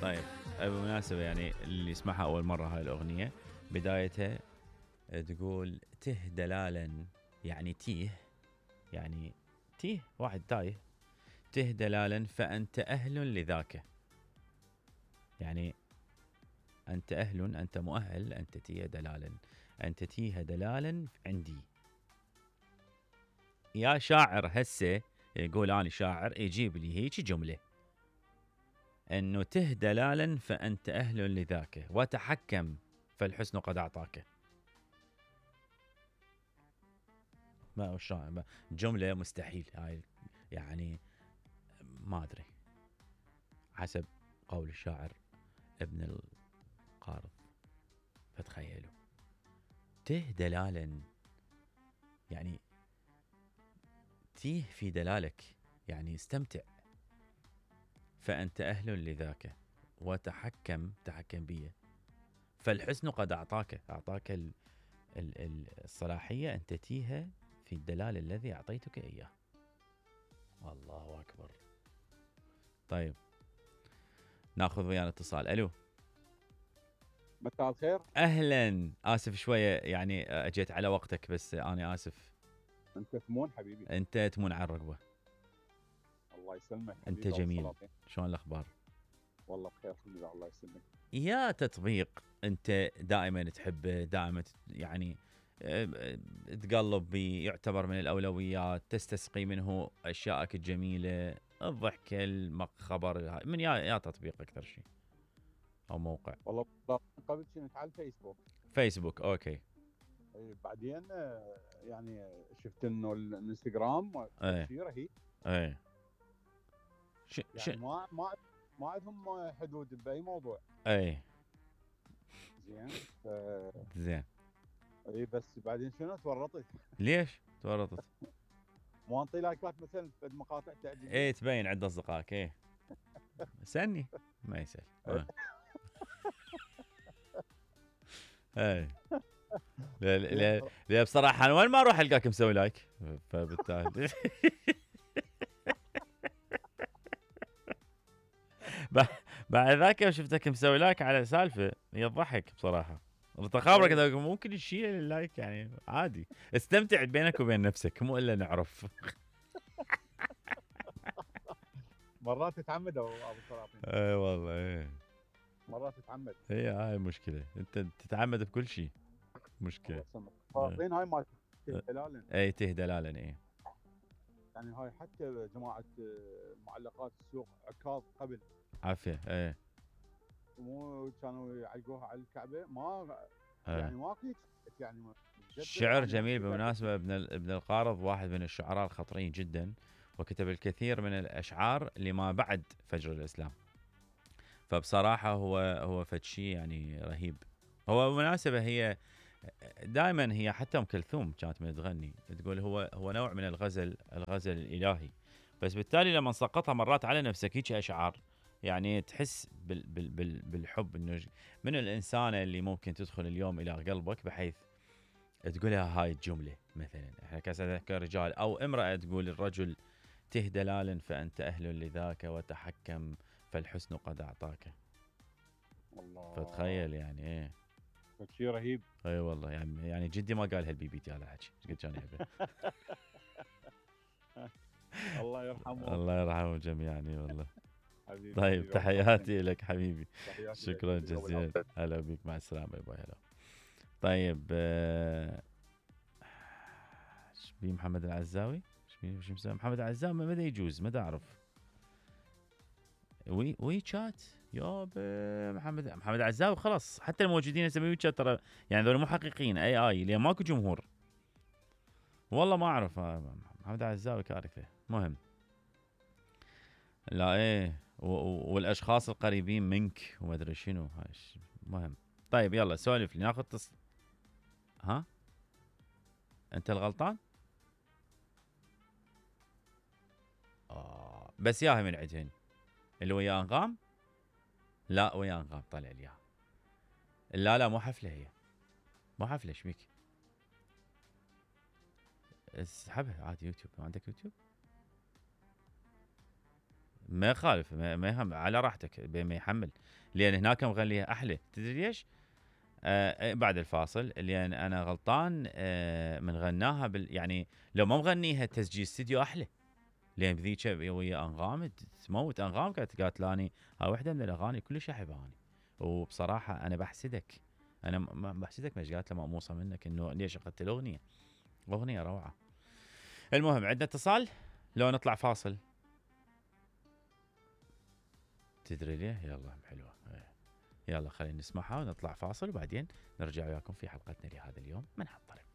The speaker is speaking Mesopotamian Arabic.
طيب بالمناسبة يعني اللي يسمعها أول مرة هاي الأغنية بدايتها تقول ته دلالا، يعني تيه، يعني تيه واحد تايه، ته دلالا فأنت أهل لذاك، يعني أنت أهل، أنت مؤهل، أنت تيه دلالا، أنت تيه دلالا عندي. يا شاعر هسه يقول أنا شاعر يجيب لي هيك جملة أنه ته دلالا فأنت أهل لذاك وتحكم فالحسن قد أعطاك. ما شلون جملة مستحيل هاي، يعني ما أدري حسب قول الشاعر ابن القارض. فتخيلوا ته دلالا، يعني تيه في دلالك، يعني استمتع، فأنت أهل لذاك وتحكم، تحكم بيه، فالحسن قد أعطاك الصلاحية أن تتيها في الدلال الذي أعطيتك إياه. الله أكبر. طيب ناخذ ويانا اتصال. ألو، مساء الخير. أهلا، آسف شوية يعني أجيت على وقتك، بس أنا آسف. أنت تمون حبيبي. أنت تمون على الرقبة. الله يسلمك. أنت جميل. شلون الأخبار؟ والله بخير الحمد لله. الله يسلمك. يا تطبيق أنت دائما تحبه، دائما يعني تقلب بي، يعتبر من الأولويات، تستسقي منه أشياءك الجميلة، الضحك، الخبر، من يا تطبيق أكثر شيء أو موقع؟ والله قبل كنت على الفيسبوك. فيسبوك أوكي. بعدين يعني شفت إنه الانستغرام شيء رهيب. إيه يعني ما عندهم حدود بأي موضوع. إيه زين زين. اي بس بعدين شنو تورطت؟ ليش تورطت؟ مو انطي لايكات مثلا في المقاطع تعجبني. ايه تبين عند اصدقائك. ايه سني ما يسال. ايه لا بصراحه انا وين ما اروح القاك مسوي لايك، فبالتالي بعد ذاك شفتك مسوي لايك على سالفه يضحك بصراحه. التخابر كذا ممكن يشيل اللايك، يعني عادي، استمتع بينك وبين نفسك، مو الا نعرف. مرات تتعمد ابو سلاطين. اي والله ايه مرات تتعمد. هي هاي المشكله، انت تتعمد بكل شيء، مشكله. سلاطين هاي ما دلالا. اي ته دلالا. ايه يعني هاي حتى جماعه معلقات السوق عكاظ قبل عافيه. ايه مو كانوا يعلقوها على الكعبه، ما يعني ماكو يعني شعر جميل بالمناسبه. ابن القارض واحد من الشعراء الخطرين جدا، وكتب الكثير من الاشعار لما بعد فجر الاسلام، فبصراحه هو فد شيء يعني رهيب. هو بالمناسبه هي دائما هي حتى ام كلثوم كانت من تغني تقول هو نوع من الغزل الالهي، بس بالتالي لما سقطها مرات على نفسك هيك اشعار، يعني تحس بالحب انه من الانسانه اللي ممكن تدخل اليوم الى قلبك بحيث تقولها هاي الجمله. مثلا احنا كرجال او امراه تقول الرجل ته دلالا فانت اهل لذاك وتحكم فالحسن قد اعطاك. الله. فتخيل يعني ايه شيء رهيب. اي والله، يعني جدي ما قال هالبي بي تي هذا الحكي، ايش قد كان يحبه. الله يرحمه. الله يرحمه جميعا والله. حبيبي طيب حبيبي تحياتي لك حبيبي. تحياتي شكرا جزيلا. هلا بك، مع السلامه. باي هلا. طيب ايش بي محمد العزاوي؟ ايش مسوي محمد العزاوي؟ ماذا يجوز؟ ما اعرف. وي شات يابا. محمد العزاوي خلاص، حتى الموجودين يسميه وي شات ترى، يعني ذول مو حقيقيين، اي لان ماكو جمهور. والله ما اعرف. محمد العزاوي كارثه. مهم لا ايه والاشخاص القريبين منك وما ادري شنو هاي مهم. طيب يلا سولف لي، ناخذ ها انت الغلطان. بس ياها من عندهن اللي ويا انغام. لا ويا انغام طلع لي اياها. لا مو حفله، هي مو حفله. ايش بيك؟ اسحبها عادي. يوتيوب، ما عندك يوتيوب؟ ما يخالف، ما يهم، على راحتك بين ما يحمل، لان هناك مغنيها احلى. تدري ليش؟ بعد الفاصل، لان انا غلطان من غناها يعني لو ما مغنيها تسجيل استديو احلى، لان بذيك ويا انغام تموت. انغام قالت لاني هاي وحده من الاغاني كلش احبها اني، وبصراحه انا بحسدك، انا بحسدك مش قالت له مقموصه منك انه ليش اخذت الاغنيه، اغنيه روعه. المهم عندنا اتصال، لو نطلع فاصل. تدري ليه؟ يلا حلوه، يلا خلينا نسمعها ونطلع فاصل، وبعدين نرجع وياكم في حلقتنا لهذا اليوم من هالطريق.